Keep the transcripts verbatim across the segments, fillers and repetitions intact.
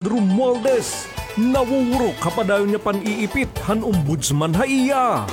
Romualdez, nawurok ha padayon nga pan-iipit han ombudsman ha iya.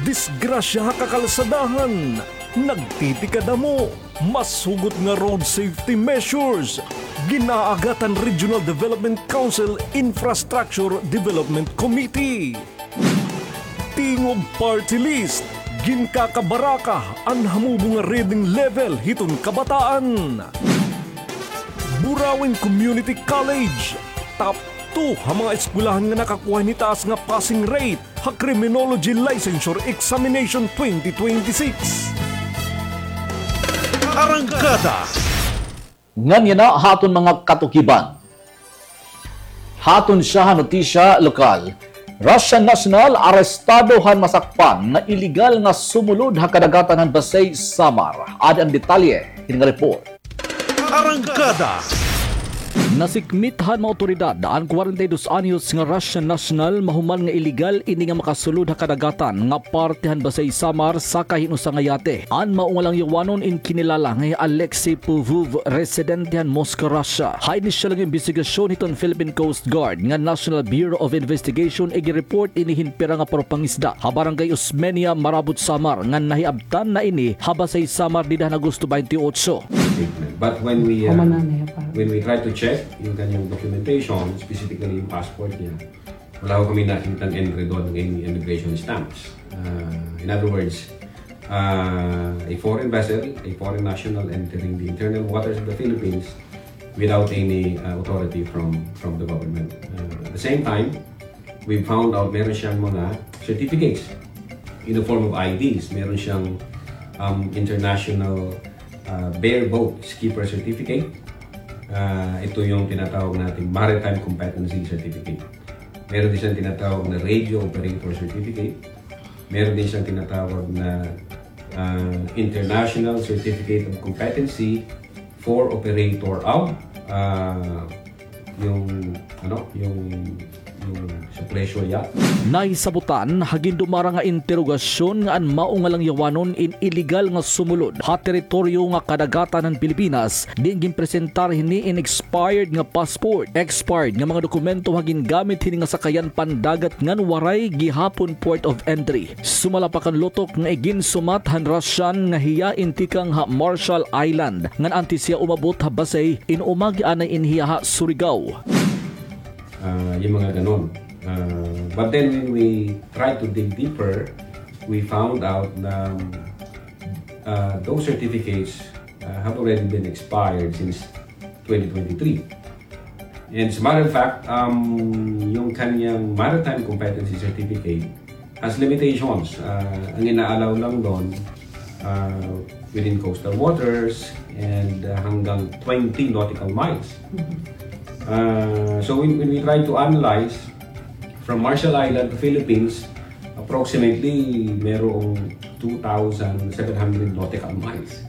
Disgrasya ha kakalsadahan, nagtitikadamo, mas hugot nga road safety measures, gin-aagat han Regional Development Council Infrastructure Development Committee. Tingog Party List, ginkakabaraka an hamubo nga reading level hiton kabataan. Burauen Community College, top two ha mga eskwelahan nga nakakuha hini taas nga passing rate ha Criminology Licensure Examination twenty twenty-six. Arangkada. Ngan yana ha aton mga katukiban. Ha aton syahan notisya lokal, Russian national arestado han masakpan nga iligal nga sumulod ha kadagatan han Basey, Samar. Adi an detalye hini nga report. Arangkada. Nasikmit han mga awtoridad an kwarenta y dos anyos nga Russian national mahuman nga iligal ini nga makasulod ha kadagatan nga parte han Basey, Samar, sakay hin usa nga yate. An mao nga langyawanon in kinilala nga hi Alexei Povov, residente han Moscow, Russia. Ha inisyal nga imbestigasyon hiton Philippine Coast Guard ngan National Bureau of Investigation, igireport ini hin pira nga parapangisda ha Barangay Osmeña, Marabut, Samar, ngan nahiabtan na ini ha Basey, Samar, dida han Agosto twenty-eight. But when we, uh, when we try to check yung kanyang documentation, specifically yung passport niya, wala ho kami nakitang enredo ng any immigration stamps. Uh, in other words, uh, a foreign vessel, a foreign national entering the internal waters of the Philippines without any, uh, authority from, from the government. Uh, at the same time, we found out meron siyang mga certificates in the form of I Ds. Meron siyang, um, international, uh, bareboat skipper certificate. Uh, ito yung tinatawag nating maritime competency certificate. Meron din siyang tinatawag na radio operator certificate. Meron din siyang tinatawag na, ah, International Certificate of Competency for Operator of, ah, yung, ano, yung, yung sa pleasure yacht. Nahisabutan ha gindumara nga interogasyon nga an mao nga langyawanon in iligal nga sumulod ha teritoryo nga kadagatan han Pilipinas, diin ginpresentar hini in expired nga passport, expired nga mga dokumento ha gingamit hini nga sakayan pandagat ngan waray gihapon port of entry. Sumala pa kan Lutok nga iginsumat han Russian nga hiya in tikang ha Marshall Island, ngan antes hiya umabot ha Basey, in umagi anay in hiya ha Surigao. Ah, yung mga ganon. Ah, but then when we try to dig deeper, we found out na, ah, those certificates, ah, have already been expired since twenty twenty-three. And as a matter of fact, um, yung kanyang maritime competency certificate has limitations. Ah, ang ina-allow lang doon, ah, within coastal waters and, ah, hanggang twenty nautical miles. Ah, so when, when we try to analyze from Marshall Island to Philippines, approximately merong two thousand seven hundred nautical miles.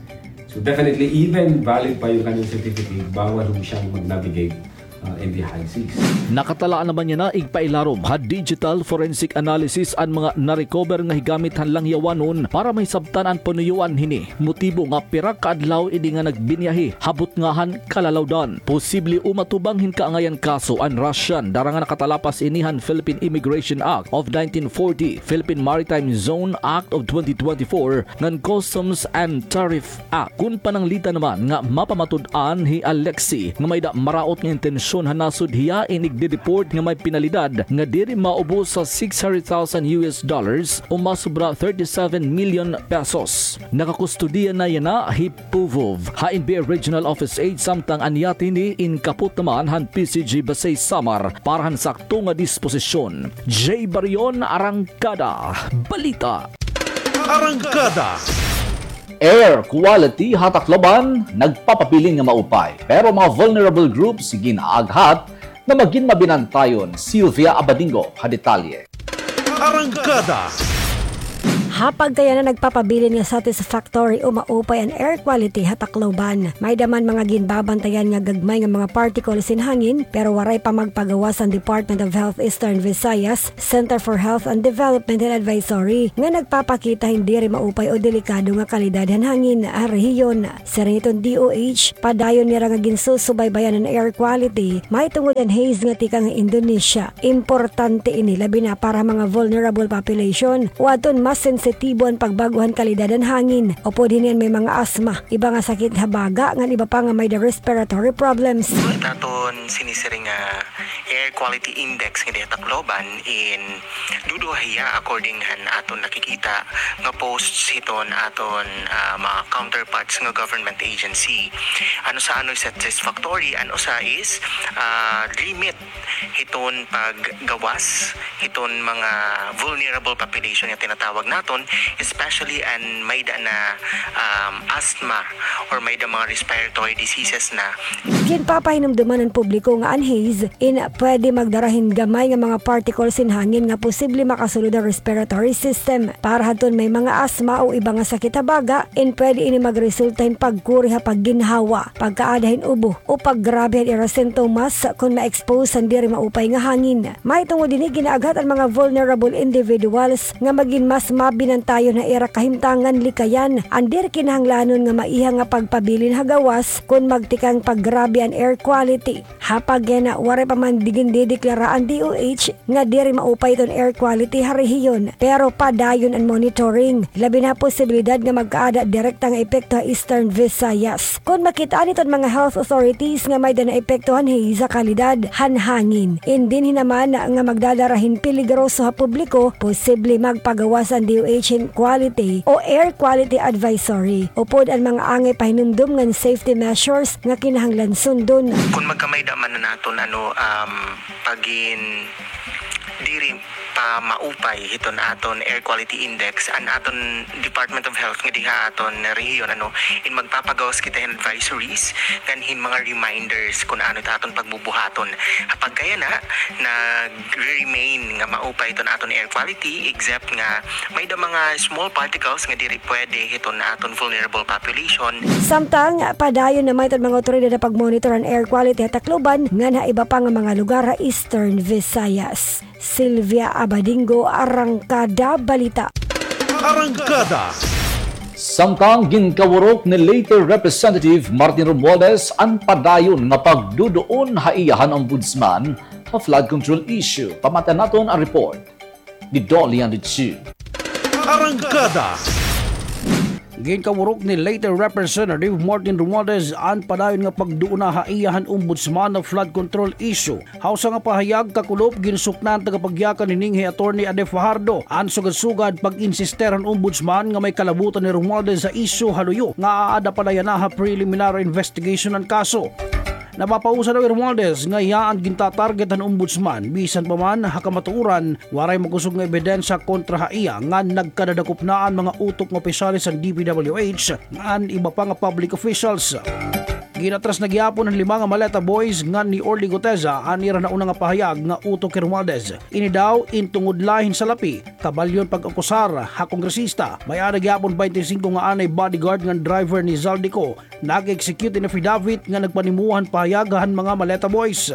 So definitely, even valid pa yung kanyang certificate, bawal ho siyang mag-navigate, ah, in the high seas. Nakatalaan naman yana igpailarom ha digital forensic analysis an mga na-recover nga higamit han langyawanon para mahisabtan an panuyuan hini, motibo nga pira ka adlaw ini nga nagbiyahe ha butnga han kalalawdan. Posible umatubang hin kaangayan kaso an Russian, dara nga nakatalapas ini han Philippine Immigration Act of nineteen forty, Philippine Maritime Zone Act of twenty twenty-four, ngan Customs and Tariff Act. Kon pananglitan naman nga mapamatud-an hi Alexei nga may-ada maraot nga intensyon ha nasod hiya in igde-deport nga may penalidad nga diri maubos sa six hundred thousand U S dollars o masobra thirty-seven million pesos. Nakakustodiya na yana hi Povov ha N B I Regional Office Eight, samtang an yate hini in kapot naman han P C G Basey Samar para han sakto nga disposisyon. Jay Barion, Arangkada Balita. Arangkada. Air quality ha Tacloban nagpapabilin nga maupay, pero mga vulnerable groups gin-aaghat nga magin mabinantayon. Sylvia Abadingo ha detalye. Arangkada. Ha pagkayana, nagpapabilin nga satisfactory o maupay an air quality ha Tacloban. May-ada man mga ginbabantayan nga gagmay nga mga particles hin hangin, pero waray pa magpagawas an Department of Health Eastern Visayas Center for Health and Development hin advisory nga nagpapakita hin diri maupay o delikado nga kalidad han hangin ha rehiyon. Siring hiton D O H, padayon nira nga ginsusubaybayan an air quality mahitungod han haze nga tikang ha Indonesia. Importante ini labi na para mga vulnerable population o adton mas sensitibo an pagbag-o han kalidad han hangin. Upod hini an may mga asma, iba nga sakit ha baga, ngan iba pa nga may-ada respiratory problems. It aton sinisiring nga air quality index nga diha Tacloban in duduha hiya according han aton nakikita nga posts hiton aton, ah, mga counterparts nga government agency. An usa anoy satisfactory, an usa is, ah, limit hiton paggawas hiton mga vulnerable population nga tinatawag naton, especially an may-ada na, um, asthma or may-ada mga respiratory diseases na. Ginpapahinumduman an publiko nga an haze in pwede magdara hin gamay nga mga particles hin hangin nga posible makasulod ha respiratory system. Para hadton may mga asma o iba nga sakit ha baga, in pwede ini magresulta hin pagkuri ha pagginhawa, pagkaada hin ubo, o paggrabe han ira sintomas kon ma-expose han diri maupay nga hangin. Mahitungod hini, ginaaghat an mga vulnerable individuals nga magin mas mabinantayon ha ira kahimtangan likayan an diri kinahanglanon nga maiha nga pagpabilin ha gawas kon magtikang paggrabe an air quality. Ha pagkayana, waray pa man gindideklara an D O H nga diri maupay iton air quality ha rehiyon, pero padayon an monitoring, labi na posibilidad nga magkaada direkta nga epekto ha Eastern Visayas. Kon makit-an hiton mga health authorities nga may-ada naepekto han haze ha kalidad han hangin, in dinhi naman nga magdadara hin peligroso ha publiko, posible magpagawas an D O H hin quality o air quality advisory. Upod an mga angay pahinumdom ngan safety measures nga kinahanglan sundon. Kon magkamay-ada man na naton, ano, um, pagin diri pa maupay hiton aton air quality index, an aton Department of Health nga diha aton rehiyon, ano, in magpapagawas kita hin advisories ngan hin mga reminders kon ano it aton pagbubuhaton. Ha pagkayana, nagre-remain nga maupay iton aton air quality, except nga may-ada mga small particles nga diri pwede hiton aton vulnerable population. Samtang padayon naman iton mga awtoridad ha pagmonitor han air quality ha Tacloban ngan ha iba pa nga mga lugar ha Eastern Visayas. Sylvia Abadingo, Arangkada Balita. Arangkada. Samtang ginkawurok ni Leyte Representative Martin Romualdez an padayon nga pagduduon ha iya han ombudsman ha flood control issue. Pamatian naton an report ni Dolian Ritchie. Arangkada. Ginkawurok ni Leyte Representative Martin Romualdez an padayon nga pagduona ha iya han ombudsman ha flood control issue. Ha usa nga pahayag kakulop, ginsuknan tagapagyakan hini nga hi Attorney Ade Fajardo an sugad-sugad pag-insister han ombudsman nga may kalabutan ni Romualdez ha isyu ha luyo nga aada pa la yana ha preliminary investigation an kaso. Napapausa daw hi Romualdez nga iya an gintatarget han ombudsman, bisan pa man ha kamatuoran waray makusog nga ebidensya kontra ha iya ngan nagkadadakop na an mga utok nga opisyales han D P W H ngan iba pa nga public officials. Ginatras na gihapon han lima nga Maleta Boys ngan ni Orly Guteza an ira nauna nga pahayag nga utok hi Romualdez. Ini daw in tungod la hin salapi, kabalyon pag-akusar ha kongresista. May-ada gihapon baynte singko nga anay bodyguard ngan driver ni Zaldy Co nag-execute hin affidavit nga nagpanimuha han pahayag han mga Maleta Boys.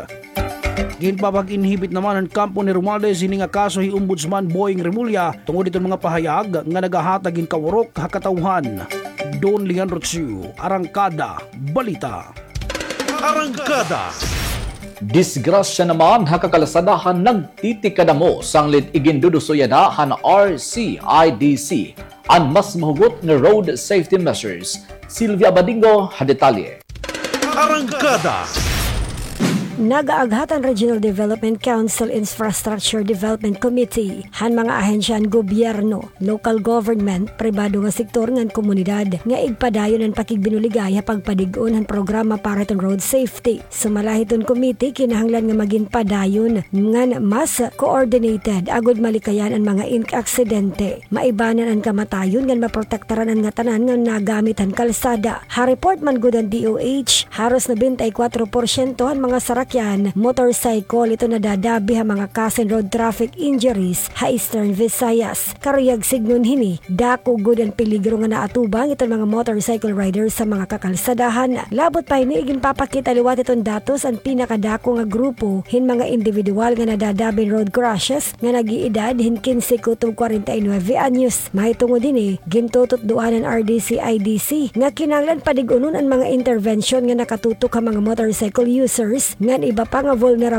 Ginpapag-inhibit naman han kampo ni Romualdez hini nga kaso hi Ombudsman Boying Remulla tungod hiton mga pahayag nga nagahatag hin kawurok ha katawhan. Don Leon Rocio, Arangkada Balita. Arangkada. Disgrasya naman ha kakalsadahan nagtitikadamo sanglit iginduduso yana han R C I D C an mas mahugot nga road safety measures. Sylvia Abadingo ha detalye. Arangkada. Nagaaghat an Regional Development Council Infrastructure Development Committee han mga ahensya han gobyerno, local government, pribado nga sektor ngan komunidad nga igpadayon an pakigbinuligay ha pagpadig-on han programa para hiton road safety. Sumala hiton committee, kinahanglan nga magin padayon ngan mas coordinated agod malikayan an mga ink-, aksidente, maibanan an kamatayon ngan maprotektaran an ngatanan nga nagamit han kalsada. Ha report man gud han D O H, haros nobenta y kwatro porsyento han mga sarak sasakyan, motorcycle, iton nadadabi ha mga kaso hin road traffic injuries ha Eastern Visayas. Karuyag sidngon hini, dako gud an peligro nga naatubang iton mga motorcycle riders sa mga kakalsadahan. Labot pa hini, iginpapakita liwat iton datos an pinakadako nga grupo hin mga individual nga nadadabi hin road crashes nga nag-iidad hin kinse kutob kwarenta y nuebe anyos. Mahitungod hini, gintututdoan han R D C I D C nga kinahanglan padig-unon an mga interbensyon nga nakatutok ha mga motorcycle users ngan iba pa nga vulnerable